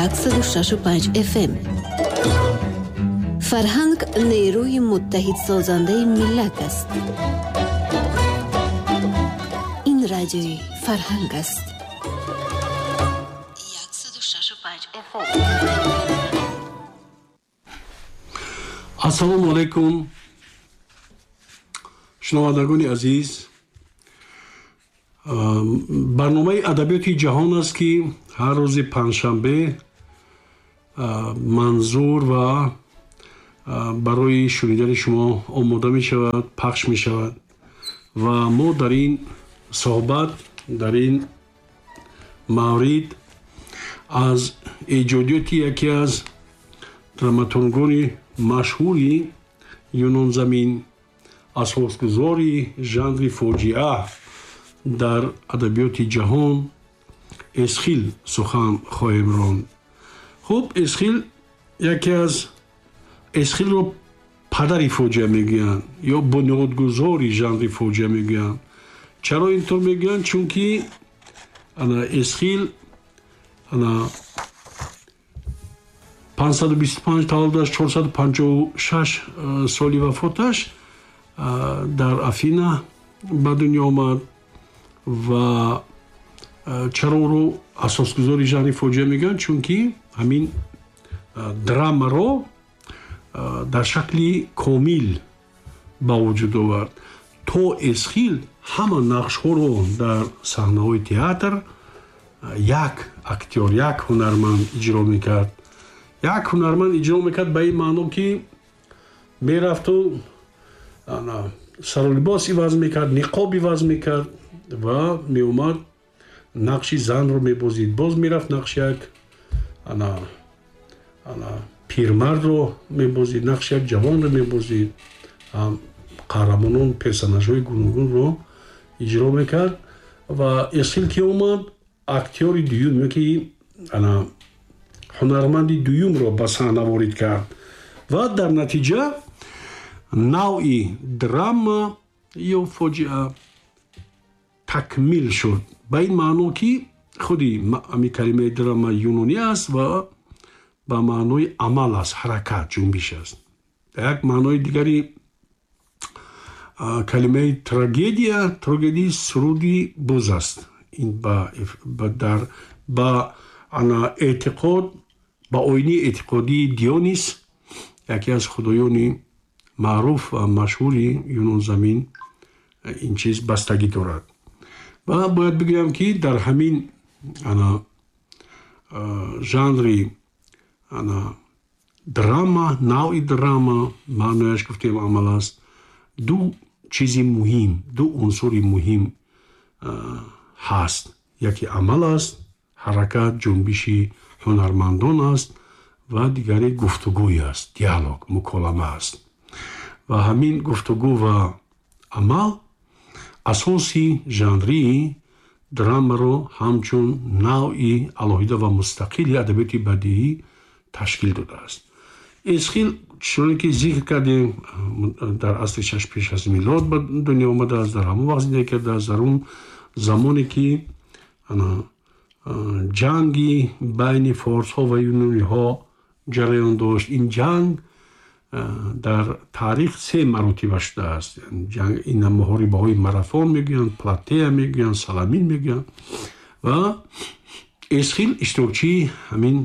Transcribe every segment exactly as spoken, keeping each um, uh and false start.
яксаду шашу панҷ F M. Фарҳанг нерӯи муттаҳидсозандаи миллат аст. Ин радиои Фарҳанг аст. яксаду шашу панҷ F M. Ассалому алайкум, шунавандагони азиз. Барномаи адабиёти ҷаҳон аст, ки ҳар рӯзи панҷшанбе манзур ва барои шунидани шумо омода мешавад, пахш мешавад ва мо дар ин суҳбат, дар ин маврид аз эҷодиёти яке аз драматургони машҳури юнонзамин, асосгузори жанри фоҷиа дар адабиёти ҷаҳон Эсхил сухан хоҳем ронд. Хуб, Эсхил яке аз Эсхилро падари фоҷиа мегӯянд ё бунёдгузори жанри фоҷиа мегӯянд. Чаро интор мегӯянд? Чунки ана Эсхил ана панҷсаду бисту панҷ таваллудаш, чорсаду панҷоҳу шаш соли вафоташ дар Афина ба дунё омад ва чаро ӯро асосгузори жанри фоҷиа мегӯянд? Чунки ҳамин драмаро дар шакли комил ба вуҷуд овард. То Эсхил ҳама нақшҳоро дар саҳнаҳои театр як актёр, як ҳунарманд иҷро мекард. Як ҳунарманд иҷро мекард ба ин маъно, ки мерафту сару либос иваз мекард, ниқоб иваз мекард ва меомад нақши занро мебозид. Боз мерафт нақши як ана ана пирмардро мебозид, нақши як ҷавонро мебозид, қаҳрамонон, персонажҳои гуногунро иҷро мекард. Ва Эсхил ки омад, актёри дуюм ё ки ана ҳунарманди дуюмро ба саҳна ворид кард ва дар натиҷа навъи драма ё фоҷиа такмил шуд. Ба ин маъно, ки худи ҳамин калимаи драма юнонӣ аст ва ба маънои амал аст, ҳаракат, ҷунбиш аст. Як маънои дигари калимаи трагедия, трагедии суруди буз аст. Ин ба дар ба ана эътиқод, ба оини эътиқодии Дионис, яке аз худоёни маъруф ва машҳури юнонзамин, ин чиз бастагӣ дорад. Ва бояд бигӯям, ки дар ҳамин ана жанри ана драма, навъи драма, маънояш гуфтем амал аст, ду чизи муҳим, ду унсури муҳим ҳаст. Яке амал аст, ҳаракат, ҷунбиши ҳунармандон аст ва дигаре гуфтугӯй аст, диалог, муколама аст. Ва ҳамин гуфтугӯ ва амал асоси жанрии драмаро ҳамчун навъи алоҳида ва мустақили адабиёти бадиӣ ташкил додааст. Эсхил, чуноне ки зикр кардем, дар асри шаш пеш аз милод ба дунё омадааст, дар ҳамон вақт зиндагӣ кардааст, дар он замоне ки ана ҷанги байни форсҳо ва юнониҳо ҷараён дошт. Ин ҷанг дар таърих се маротиба шудааст. Ин муҳорибаҳои Марафон мегӯянд, Платея мегӯянд, Саламин мегӯянд ва Эсхил иштирокчии ҳамин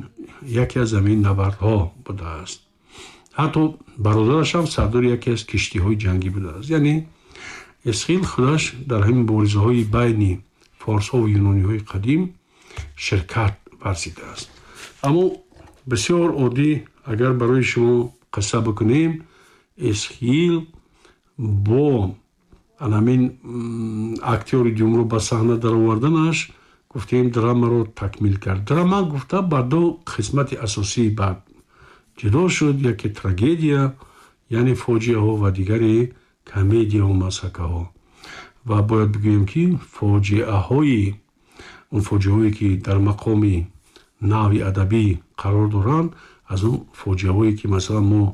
яке аз ҳамин набардҳо будааст. Ҳатто бародараш ҳам сардори яке аз киштиҳои ҷангӣ будааст. Яъне Эсхил худаш дар ҳамин муборизаҳои байни форсҳо ва юнониҳои қадим ширкат варзидааст. Аммо бисёр оддӣ агар барои шумо қисса бикунем, Эсхил бо ҳамин актёри дуюмро ба саҳна дароварданаш, гуфтем, драмаро такмил кард. Драма гуфта ба ду қисмати асосии баъд ҷудо шуд: яке трагедия, яъне фоҷиаҳо, ва дигаре комедияҳо, масхакаҳо. Ва бояд бигӯем, ки фоҷиаҳои он фоҷиаҳое, ки дар мақоми навъи адабӣ қарор доранд, аз он фоҷиаҳое, ки масалан мо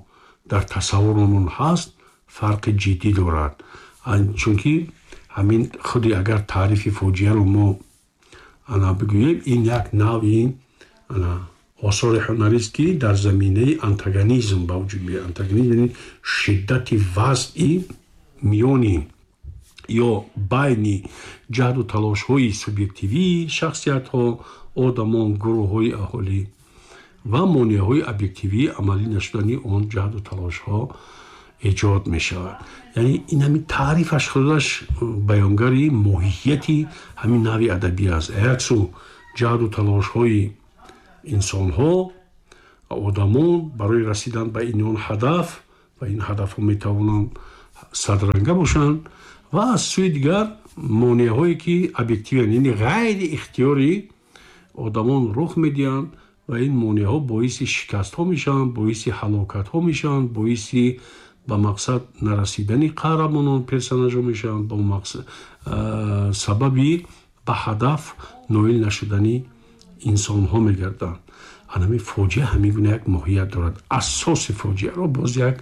дар тасаввуромон ҳаст, фарқи ҷиддӣ дорад. Чунки ҳамин худи агар таърифи фоҷиаро мо ана бигӯем, ин як навъи ана Осори ҳунарист, ки дар заминаи антагонизм ба вуҷуд меояд. Антагонизм яъне шиддати вазъи миёни ё байни ҷаҳду талошҳои субъективии шахсиятҳо, одамон, гурӯҳҳои аҳолӣ ва монеаҳои объективии амалӣ нашудани он ҷаҳду талошҳо эҷод мешавад. Яъне ин ҳамин таърифаш худаш баёнгари моҳияти ҳамин навъи адабӣ аст. Як су ҷаҳду талошҳои инсонҳо, одамон барои расидан ба ин он ҳадаф, ва ин ҳадафҳо метавонанд садранга бошанд, ва аз сӯи дигар монеаҳое ки объективианд, яъне ғайри ихтиёри одамон рух медиҳанд ва ин монеаҳо боиси шикастҳо мешаванд, боиси ҳалокатҳо мешаванд, боиси ба мақсад нарасидани қаҳрамонон, персонажҳо мешаванд, ба сабаби ба ҳадаф ноил нашудани инсонҳо мегарданд. Ҳамин фоҷиа ҳамин гуна як моҳият дорад. Асоси фоҷиаро боз як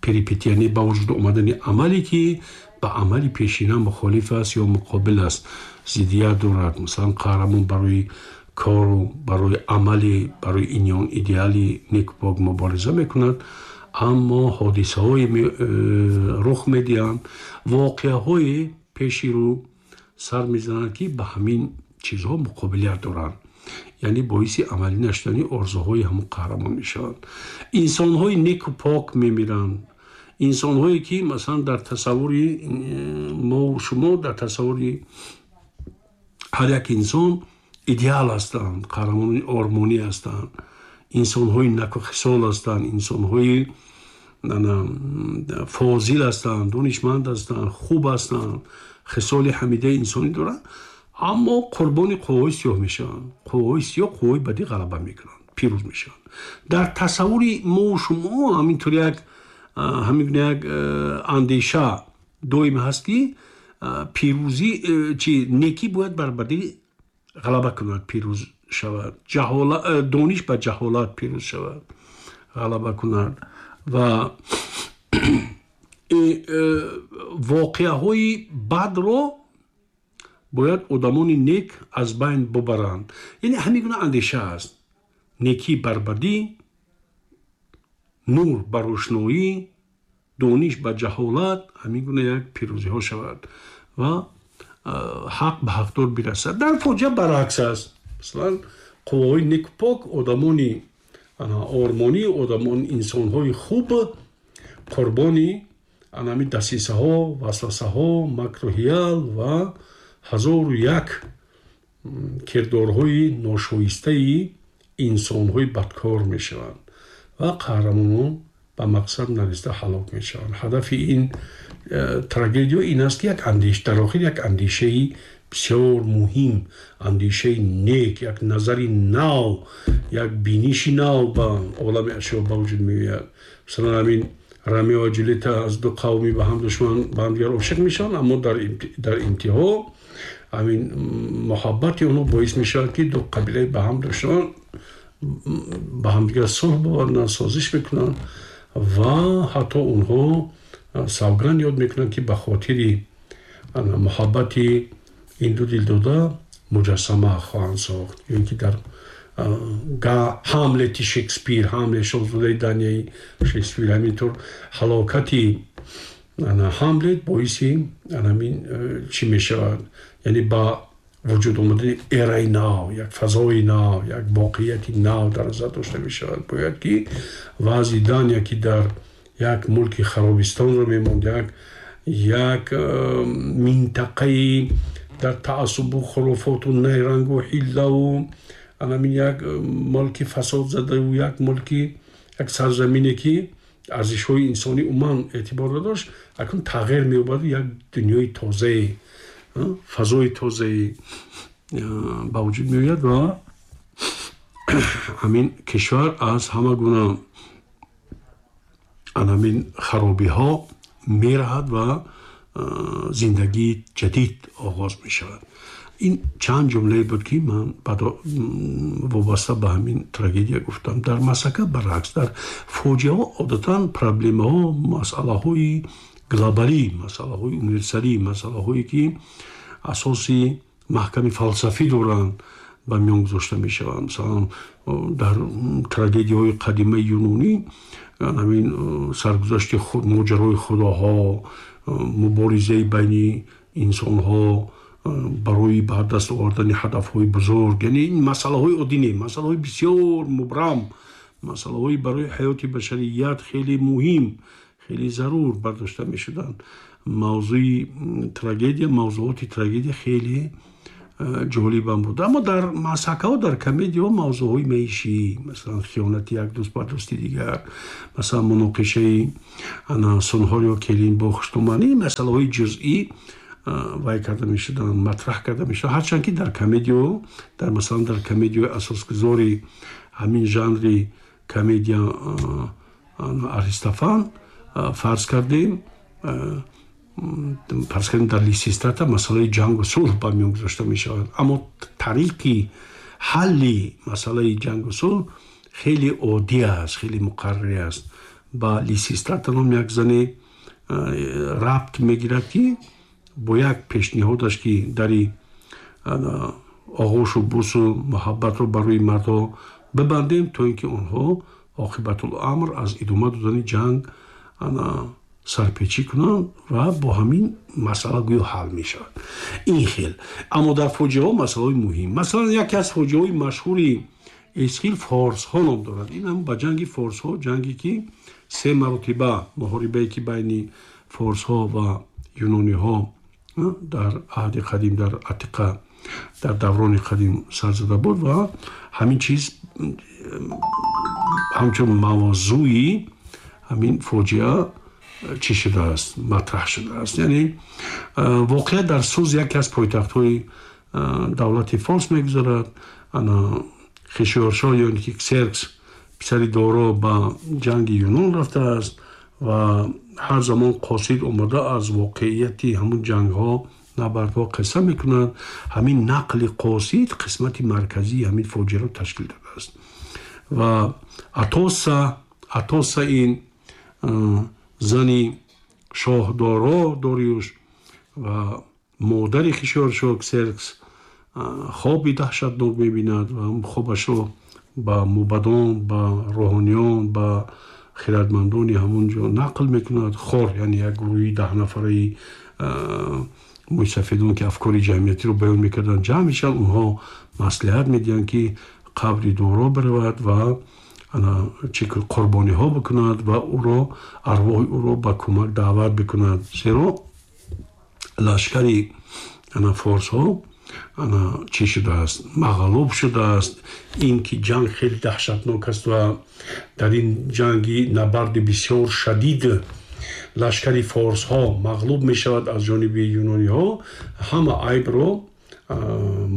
перипетия, яъне ба вуҷуд омадани амале ки ба амали пешина мухолиф аст ё муқобил аст, зиддият дорад. Масалан, қаҳрамон барои кору барои амали, барои ин ё он идеали некупок мубориза мекунад, аммо ҳодисаҳое рух медиҳанд, воқеаҳое пеши рӯ сар мезананд, ки ба ҳамин чизҳо муқобилият доранд, яъне боиси амалӣ нашудани орзуҳои ҳамон қаҳрамон мешаванд. Инсонҳои неку пок мемиранд, инсонҳое ки масалан дар тасаввури мо шумо, дар тасаввури ҳар як инсон идеал ҳастанд, қаҳрамонони ормонӣ ҳастанд, инсонҳои накухисол ҳастанд, инсонҳои фозил ҳастанд, донишманд ҳастанд, хуб ҳастанд, хисоли ҳамидаи инсонӣ доранд, аммо қурбони қувваҳои сиёҳ мешаванд. Қувваҳои сиёҳ, қувваҳои бадӣ ғалаба мекунанд, пирӯз мешаванд. Дар тасаввури мо шумо ҳаминтур як ҳамин гуна як андеша доим ҳаст, ки пирӯзӣ чи некӣ бояд бар бадӣ ғалаба кунад, пирӯз шавад, дониш ба ҷаҳолат пирӯз шавад, ғалаба кунад. Ва воқеаҳои бадро бояд одамони нек аз байн бубаранд. Яъне ҳамин гуна андеша аст: некӣ бар бадӣ, нур ба рӯшноӣ, дониш ба ҷаҳолат, ҳамин гуна як пирӯзиҳо шавад ва ҳақ ба ҳақдор бирасад. Дар фоҷиа баръакс аст. Масалан, қувваҳои неку пок, одамони ормонӣ, одамон, инсонҳои хуб қурбони ҳамин дасисаҳо, васвасаҳо, макру ҳиял ва ҳазору як кирдорҳои ношоистаи инсонҳои бадкор мешаванд ва қаҳрамонон ба мақсад нарасида ҳалок мешаванд. Ҳадафи ин трагедия ин аст, ки як андеш, дар охир як андешаи бисёр муҳим, андешаи нек, як назари нав, як биниши нав ба олами ашё ба вуҷуд меояд. Масалан, ҳамин Ромео ва Ҷулета аз ду қавми ба ҳам душман ба ҳамдигар ошиқ мешаванд, аммо дар интиҳо ҳамин муҳаббати онҳо боис мешавад, ки ду қабилаи ба ҳам душман ба ҳамдигар сулҳ боваранд, созиш мекунанд ва ҳатто онҳо савганд ёд мекунанд, ки ба хотири муҳаббати ин ду дилдода муҷассама хоҳанд сохт. Ё ин ки дар Ҳамлети Шекспир, Ҳамлет шоҳзодаи Данияи Шекспир, ҳаминтур ҳалокати Ҳамлет боиси ҳамин чӣ мешавад, яъне ба вуҷуд омадани эраи нав, як фазои нав, як воқеияти нав дар назар дошта мешавад. Бояд ки вазъи Дания, ки дар як мулки харобистонро мемонд, як як минтақаи дар таассубу хуруфоту найрангу ҳиллаву ҳамин як мулки фасодзадаву як мулки, як сарзамине ки арзишҳои инсонӣ умуман эътибор надошт, акнун тағйир меёбаду як дунёи тозае, фазои тозае ба вуҷуд меояд ва ҳамин кишвар аз ҳама гуна ҳамин харобиҳо мераҳад ва зиндагии ҷадид оғоз мешавад. Ин чанд ҷумлае буд, ки ман вобаста ба ҳамин трагедия гуфтам. Дар масъака баръакс, дар фоҷиаҳо одатан проблемаҳо, масъалаҳои глобалӣ, масъалаҳои универсалӣ, масъалаҳое ки асоси маҳками фалсафӣ доранд, ба миён гузошта мешаванд. Масалан, дар трагедияҳои қадимаи юнонӣ ҳамин саргузашти моҷарои худоҳо, муборизаи байни инсонҳо барои ба даст овардани ҳадафҳои бузург, яъне ин масъалаҳои оддӣ не, масъалаҳои бисёр мубрам, масъалаҳои барои ҳаёти башарият хеле муҳим, хеле зарур бардошта мешуданд. Мавзӯи трагедия, мавзӯоти трагедия хеле ҷолибам буд. Аммо дар масакаҳо, дар комедияҳо мавзӯъҳои маишӣ, масалан хиёнати як дӯст ба дӯсти дигар, масалан муноқишаи сунҳор ё келин бо хуштуманӣ, масъалаҳои ҷузъӣ вай карда мешуданд, матраҳ карда мешуданд. Ҳарчанд ки дар комедио, дар масалан дар комедияи асосгузори ҳамин жанри комедия Аристофан фарз кардем, фарз кардем дар Лисистрата масъалаи ҷангу сулҳ ба миён гузошта мешавад. Аммо тариқи ҳалли масъалаи ҷангу сулҳ хеле оддӣ аст, хеле муқаррарӣ аст. Ба Лисистрата ном як зане рабт мегирад, ки бо як пешниҳодаш, ки дари оғӯшу бусу муҳаббатро барои мардҳо бибандем, то ин ки онҳо оқибатуламр аз идома додани ҷанг сарпечӣ кунанд ва бо ҳамин масъала гӯё ҳал мешавад. Ин хел. Аммо дар фоҷиаҳо масъалаҳои муҳим, масалан яке аз фоҷиаҳои машҳури Эсхил форсҳо ном дорад. Ин ҳам ба ҷанги форсҳо, ҷанге ки се маротиба муҳорибае ки байни форсҳо ва юнониҳо дар аҳди қадим, дар Атиқа, дар даврони қадим сар зада буд ва ҳамин чиз ҳамчун мавзӯи ҳамин фоҷиа чӣ шудааст, матраҳ шудааст. Яъне воқеа дар Суз, яке аз пойтахтҳои давлати форс мегузарад. Хишиёршоҳ ё ин ки Ксеркс писари Доро ба ҷанги Юнон рафтааст ва ҳар замон қосид омада аз воқеияти ҳамун ҷангҳо, набардҳо қисса мекунад. Ҳамин нақли қосид қисмати марказии ҳамин фоҷиаро ташкил додааст. Ва Атоса, Атоса ин зани шоҳ Доро Дориюш ва модари Хишиёршоҳ Ксеркс хоби даҳшатнок мебинад ва хобашро ба мубадон, ба рӯҳониён, ба хирадмандони ҳамон ҷо нақл мекунад. Хор, яъне як гурӯҳи даҳнафараи мӯйсафедон, ки афкори ҷамъиятиро баён мекарданд, ҷамъ мешаванд. Онҳо маслиҳат медиҳанд, ки қабри Доро биравад ва чӣ қурбониҳо бикунад ва ӯро, арвоҳи ӯро ба кӯмак даъват бикунад, зеро лашкари форсҳо чӣ шудааст, мағлуб шудааст. Ин ки ҷанг хеле даҳшатнок аст ва дар ин ҷанги набарди бисёр шадид лашкари форсҳо мағлуб мешавад аз ҷониби юнониҳо, ҳама айбро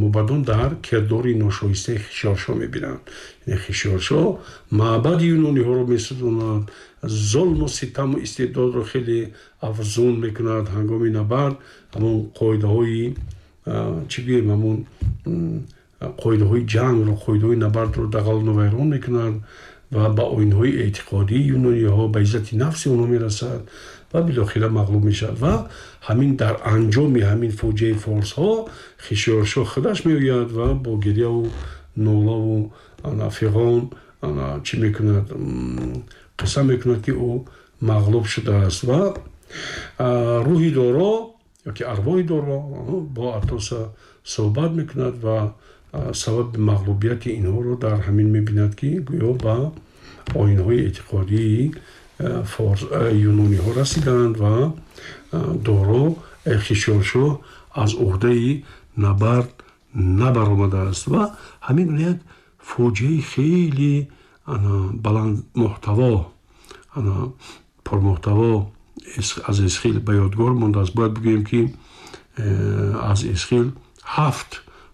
мубадон дар кирдори ношоистаи Хишиёршоҳ мебинанд. Яъне Хишиёршоҳ маъбади юнониҳоро месӯзонад, зулму ситаму истибдодро хеле афзун мекунад. Ҳангоми набард ҳамон қоидаҳои чӣ гӯем, ҳамон қоидаҳои ҷангро, қоидаҳои набардро дағалу вайрон мекунад ва ба оинҳои эътиқодии юнониҳо, ба иззати нафси онҳо мерасад ва билохира мағлуб мешавад. Ва ҳамин дар анҷоми ҳамин фоҷиаи форсҳо Хишиёршоҳ худаш меояд ва бо гиряву нолаву фиғон чӣ мекунад, қисса мекунад, ки ӯ мағлуб шудааст. Ва рӯҳи Доро ёки арвоҳи Доро бо Атоса суҳбат мекунад ва сабаби мағлубияти инҳоро дар ҳамин мебинад, ки гӯё ба оинҳои эътиқодии юнониҳо расиданд ва Доро Хишиёршоҳ аз уҳдаи набард набаромадааст. Ва ҳамин як фоҷиаи хеле баландмуҳтаво, пурмуҳтаво аз Эсхил ба ёдгор мондааст. Бояд бигӯем, ки аз Эсхил ҳафт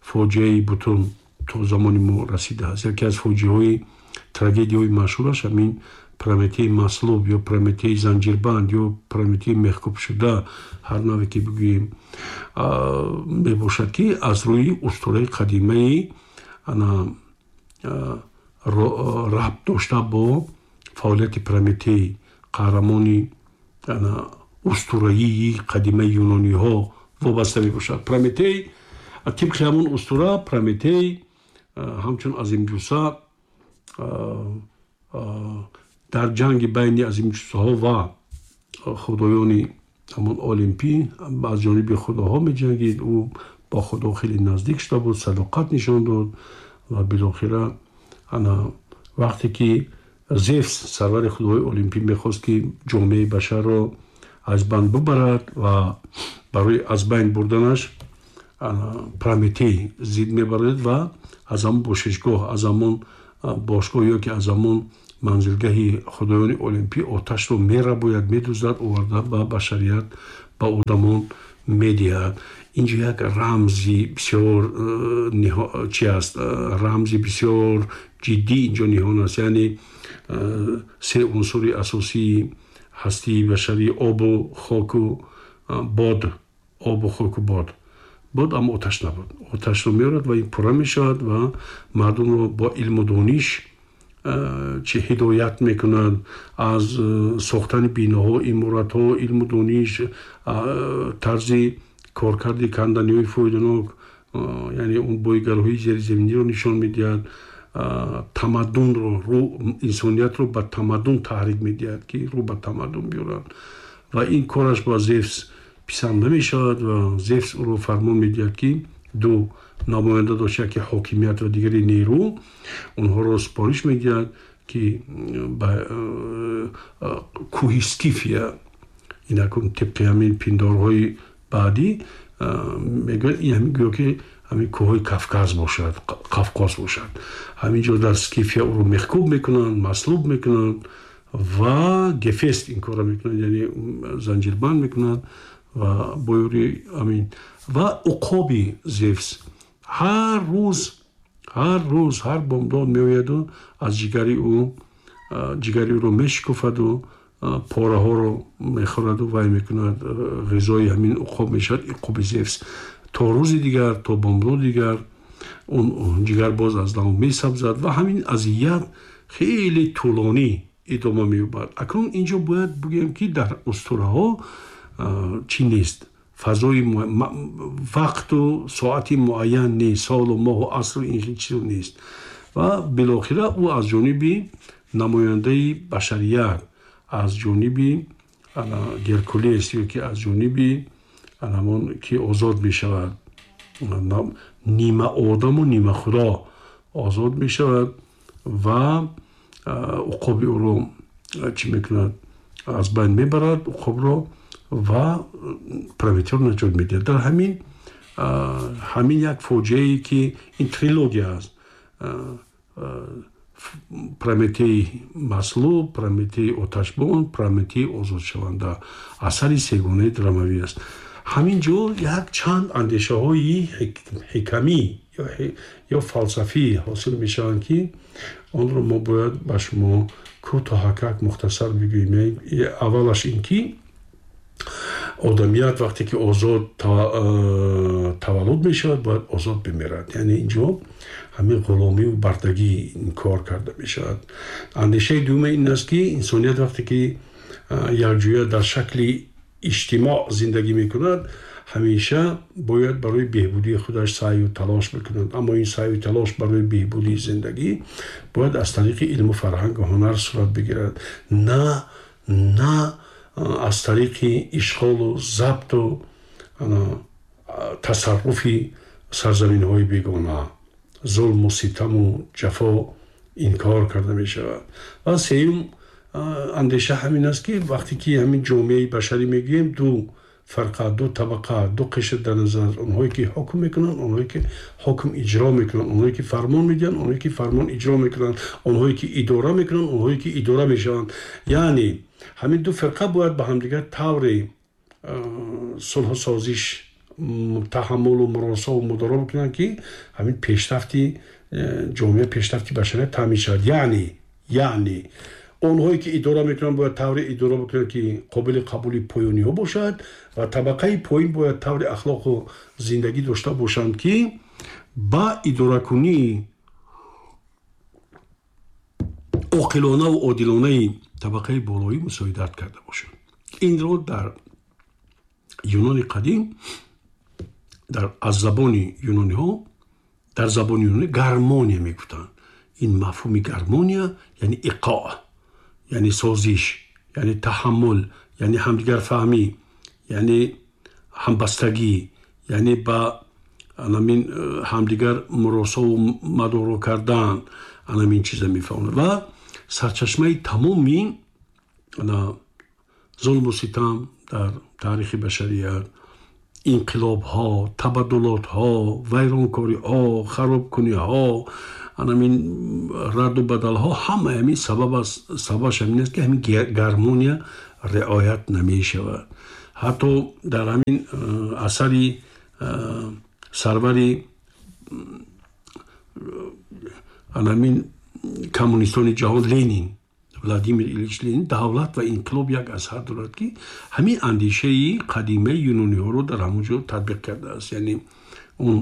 фоҷиаи бутун то замони мо расидааст. Яке аз фоҷиаҳои трагедияҳои машҳураш ҳамин Прометеи маслуб ё Прометеи занҷирбанд ё Прометеи мехкӯбшуда, ҳар наве ки бигӯем, мебошад, ки аз рӯи устураи қадимаи рабт дошта бо фаъолияти Прометей, қаҳрамони устураии қадимаи юнониҳо вобаста мебошад. Прометей тибқи ҳамон устура, Прометей ҳамчун азимҷусса дар ҷанги байни азимҷуссаҳо ва худоёни ҳамон олимпӣ аз ҷониби худоҳо меҷангид. Ӯ бо худо хеле наздик шуда буд, садоқат нишон дод ва билохира ана вақте ки Зевс, сарвари худои олимпӣ, мехост ки ҷомеаи башарро аз байн бубарад ва барои аз байн бурданаш Прометей зид мебарад ва аз ҳамон бошишгоҳ, аз ҳамон бошгоҳ ё ки аз ҳамон манзилгаҳи худоёни олимпӣ оташро мерабояд, медуздад, оварда ба башарият, ба одамон медиҳад. Инҷо як рамзи бисёр чи аст, рамзи бисёр ҷиддӣ инҷо ниҳон аст. Яъне се унсури асосии ҳастии башарӣ: обу хоку бод, обу хоку бод. Бод аммо оташ набуд. Оташро меорад ва ин пурра мешавад ва мардумро бо илму дониш чи ҳидоят мекунад аз сохтани биноҳо, иморатҳо, илму дониш, тарзи коркарди канданиҳои фоиданок, яъне он бойгарҳои зеризаминиро нишон медиҳад, тамаддунро, инсониятро ба тамаддун таҳрик медиҳад, ки рӯ ба тамаддун биёрад. Ва ин кораш ба Зевс писанд намешавад ва Зевс ӯро фармон медиҳад, ки ду намоянда дошт, яке ҳокимият ва дигари нерӯ, онҳоро супориш медиҳад, ки ба кӯҳи Скифия, инакун тибқи ҳамин пиндорҳои баъдӣ мегӯяд, ин ҳамин гӯё ки ҳамин кӯҳҳои Кавказ бошад, Қавқоз бошад. Ҳамин ҷо дар Скифия ӯро мехкуб мекунанд, маслуб мекунанд ва Гефест ин корро мекунад, яъне занҷирбанд мекунад ва бо ёри ҳамин ва уқоби Зевс ҳар рӯз, ҳар рӯз, ҳар бомдод меояду аз ҷигари ӯ, ҷигари ӯро мешикуфаду пораҳоро мехӯраду вай мекунад, ғизои ҳамин уқоб мешавад, уқоби Зевс. То рӯзи дигар, то бомдод дигар он ҷигар боз аз нав месабзад ва ҳамин азият хеле тӯлонӣ идома меёбад. Акнун инҷо бояд бигӯем, ки дар устураҳо чӣ нест, фазои вақту соати муайян нест, солу моҳу асру ин хел чизо нест. Ва билохира ӯ аз ҷониби намояндаи башарият, аз ҷониби Геркулес ё ки аз ҷониби ҳамон ки озод мешавад, нима одаму нима худо озод мешавад ва уқоби ӯро чӣ мекунад, аз байн мебарад уқобро ва Прометейро наҷот медиҳад. Дар ҳамин ҳамин як фоҷиае, ки ин трилогия аст: Прометей маслуб, Прометей оташбон, Прометей озодшаванда, асари сегонаи драмавӣ аст. Ҳамин ҷо як чанд андешаҳои ҳикамӣ ё фалсафӣ ҳосил мешаванд, ки онро мо бояд ба шумо кӯтоҳакак мухтасар бигӯем. Аввалаш ин ки одамият вақте ки озод таваллуд мешавад, бояд озод бимирад. Яъне инҷо ҳамин ғуломиву бардагӣ инкор карда мешавад. Андешаи дуюма ин аст, ки инсоният вақте ки якҷоя дар шакли иҷтимоъ зиндагӣ мекунад, ҳамеша бояд барои беҳбудии худаш саъю талош бикунад. Аммо ин саъю талош барои беҳбудии зиндагӣ бояд аз тариқи илму фарҳангу ҳунар сурат бигирад, на на аз тариқи ишғолу забту тасарруфи сарзаминҳои бегона. Зулму ситаму ҷафо инкор карда мешавад. Ва сеюм андеша ҳамин аст, ки вақте ки ҳамин ҷомеаи башарӣ мегӯем, ду фарқа, ду табақа, ду қишр дар назар аст: онҳое ки ҳукм мекунанд, онҳое ки ҳукм иҷро мекунанд, онҳое ки фармон медиҳанд, онҳое ки фармон иҷро мекунанд, онҳое ки идора мекунанд, онҳое ки идора мешаванд. Яъне ҳамин ду фирқа бояд ба ҳамдигар тавре сулҳу созиш, таҳаммулу муросову мудоро бикунанд, ки ҳамин пешрафти ҷомеа, пешрафти башарият таъмин шавад. Яъне яъне онҳое ки идора мекунанд бояд тавре идора бикунанд, ки қобили қабули поёниҳо бошад, ва табақаи поин бояд таври ахлоқу зиндагӣ дошта бошанд, ки ба идоракунии оқилонаву одилонаи табақаи болоӣ мусоидат карда бошанд. Инро дар Юнони қадим, дар аз забони юнониҳо Дар забони юнонӣ гармония мегуфтанд. Ин мафҳуми гармония яъне иқоъ, яъне созиш, яъне таҳаммул, яъне ҳамдигарфаҳмӣ, яъне ҳамбастагӣ, яъне ба анамин ҳамдигар муросову мадоро кардан, анамин чиза мефаҳмонад. Ва сарчашмаи тамоми зулму ситам дар таърихи башарият, инқилобҳо, табаддулотҳо, вайронкориҳо, харобкуниҳо, анамин радду бадалҳо, ҳама ҳамин сабаб аст, сабабаш ҳамин аст, ки ҳамин гармония риоят намешавад. Ҳатто дар ҳамин асари сарвари анамин коммунистони ҷаҳон Ленин, Владимир Ильич Ленин, давлат ва инқилоб як асар дорад, ки ҳамин андешаи қадимаи юнониҳоро дар ҳамон ҷо татбиқ кардааст. Яъне он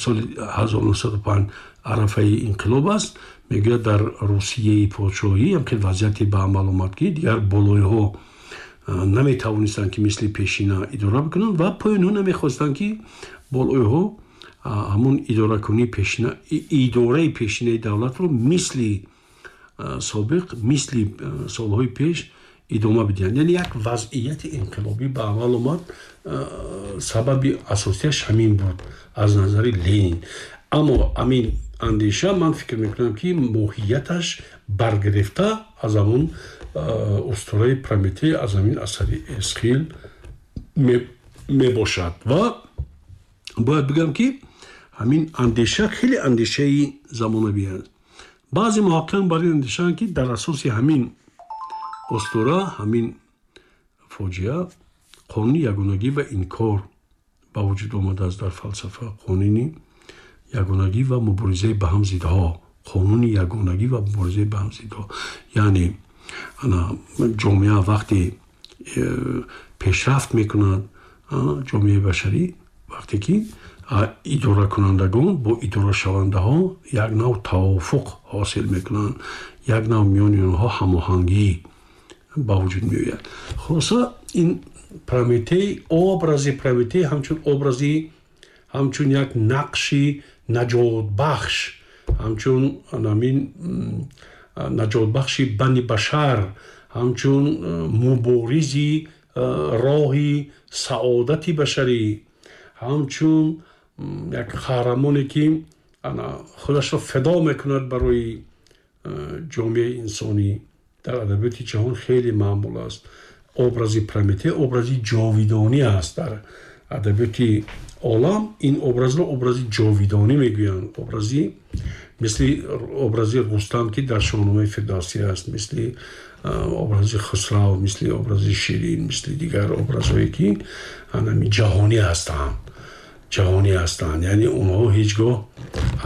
соли ҳазору нӯҳсаду панҷ арафаи инқилоб аст. Мегӯяд, дар Русияи подшоҳӣ ҳамхел вазъияте ба амал омад, ки дигар болоиҳо наметавонистанд, ки мисли пешина идора бикунанд, ва поёнҳо намехостанд, ки болоиҳо ҳамон идоракунии пешина, идораи пешинаи давлатро мисли собиқ, мисли солҳои пеш идома бидиҳанд. Яъне як вазъияти инқилобӣ ба амал омад, сабаби асосияш ҳамин буд аз назари Ленин. Аммо ҳамин андеша, ман фикр мекунам, ки моҳияташ баргирифта аз ҳамон устураи Прометей, аз ҳамин асари Эсхил мебошад. Ва бояд бигӯям, ки ҳамин андеша хеле андешаи замонавӣ аст. Баъзе муҳаққиқон бар ин андешаанд, ки дар асоси ҳамин устура, ҳамин фоҷиа, қонуни ягонагӣ ва инкор ба вуҷуд омадааст дар фалсафа. Қонуни ягонагӣ ва муборизаи ба ҳам зиддҳо, қонуни ягонагӣ ва муборизаи ба ҳам зиддҳо. Яъне ана ҷомеа вақте пешрафт мекунад, ҷомеаи башарӣ вақте ки идоракунандагон бо идорашавандаҳо як нав тавофуқ ҳосил мекунанд, як нав миёни онҳо ҳамоҳангӣ ба вуҷуд меояд. Хулоса, ин Прометей, образи Прометей ҳамчун образи, ҳамчун як нақши наҷотбахш, ҳамчун ҳамин наҷотбахши бани башар, ҳамчун муборизи роҳи саодати башарӣ, ҳамчун як қаҳрамоне, ки худашро фидо мекунад барои ҷомеаи инсонӣ, дар адабиёти ҷаҳон хеле маъмул аст. Образи Прометей образи ҷовидонӣ аст дар адабиёти олам. Ин образро образи ҷовидонӣ мегӯянд, образи мисли образи Рустам, ки дар Шоҳномаи Фирдавсӣ аст, мисли образи Хусрав, мисли образи Ширин, мисли дигар образҳое, ки ҳамин ҷаҳонӣ ҳастанд, ҷаҳонӣ ҳастанд. Яъне онҳо ҳеҷ гоҳ,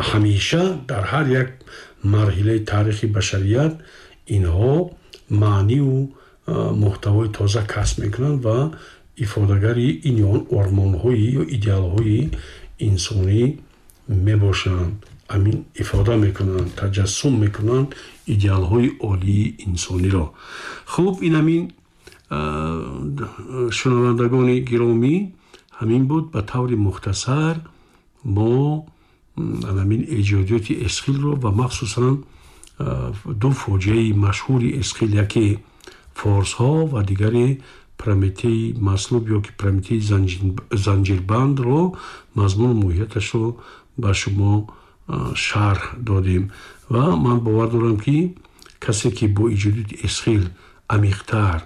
ҳамеша дар ҳар як марҳилаи таърихи башарият инҳо маъниву муҳтавои тоза касб мекунанд ва ифодагари ин ё он ормонҳои ё идеалҳои инсонӣ мебошанд. Ҳамин ифода мекунанд, таҷассум мекунанд идеалҳои олии инсониро. Хуб, ин ҳамин, шунавандагони гиромӣ, ҳамин буд ба таври мухтасар мо ҳамин эҷодиёти Эсхилро ва махсусан ду фоҷиаи машҳури Эсхил, яке форсҳо ва дигаре Прометеи маслуб ё ки Прометеи занҷирбандро, мазмуну моҳияташро ба шумо шарҳ додем. Ва ман бовар дорам, ки касе, ки бо эҷодиёти Эсхил амиқтар,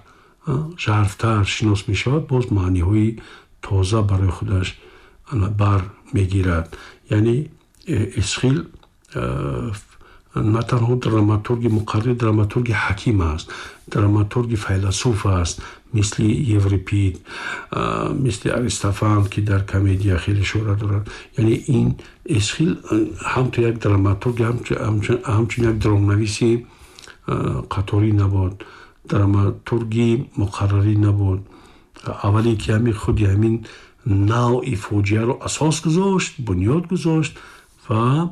жарфтар шинос мешавад, боз маъниҳои тоза барои худаш бар мегирад. Яъне Эсхил на танҳо драматурги муқаррир, драматурги ҳаким аст, драматурги файласуф аст, мисли Еврипид, мисли Аристофан, ки дар комедия хеле шӯҳрат дорад. Яъне ин Эсхил ҳамту як драматург, ҳамчун як драмнависи қаторӣ набуд, драматурги муқаррарӣ набуд. Аввале ки ҳамин худи ҳамин навъи фоҷиаро асос гузошт, бунёд гузошт ва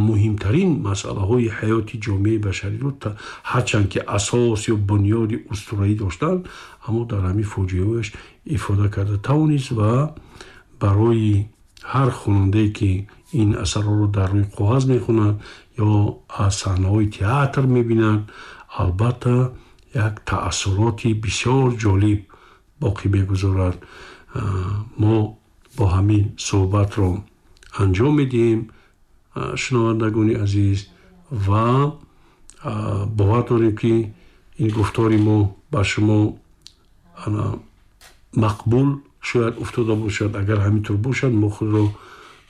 муҳимтарин масъалаҳои ҳаёти ҷомеаи башариро, ҳарчанд ки асос ё бунёди устураӣ доштанд, аммо дар ҳамин фоҷиаҳояш ифода карда тавонист ва барои ҳар хонандае, ки ин асарҳоро дар рӯи коғаз мехонад ё аз саҳнаҳои театр мебинад, албатта як таассуроти бисёр ҷолиб боқӣ мегузорад. Мо бо ҳамин суҳбатро анҷом медиҳем, шунавандагони азиз, ва бовар дорем, ки ин гуфтори мо ба шумо мақбул шояд уфтода бошад. Агар ҳамин тур бошад, мо худро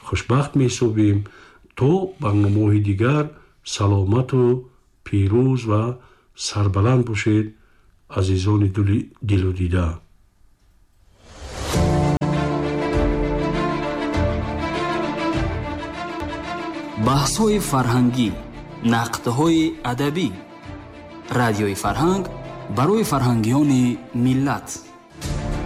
хушбахт меҳисобем. То барномаҳои дигар саломату пирӯз ва сарбаланд бошед, азизони дилу дида. Баҳсҳои фарҳангӣ, нақдҳои адабӣ. Радиои Фарҳанг барои фарҳангиёни миллат.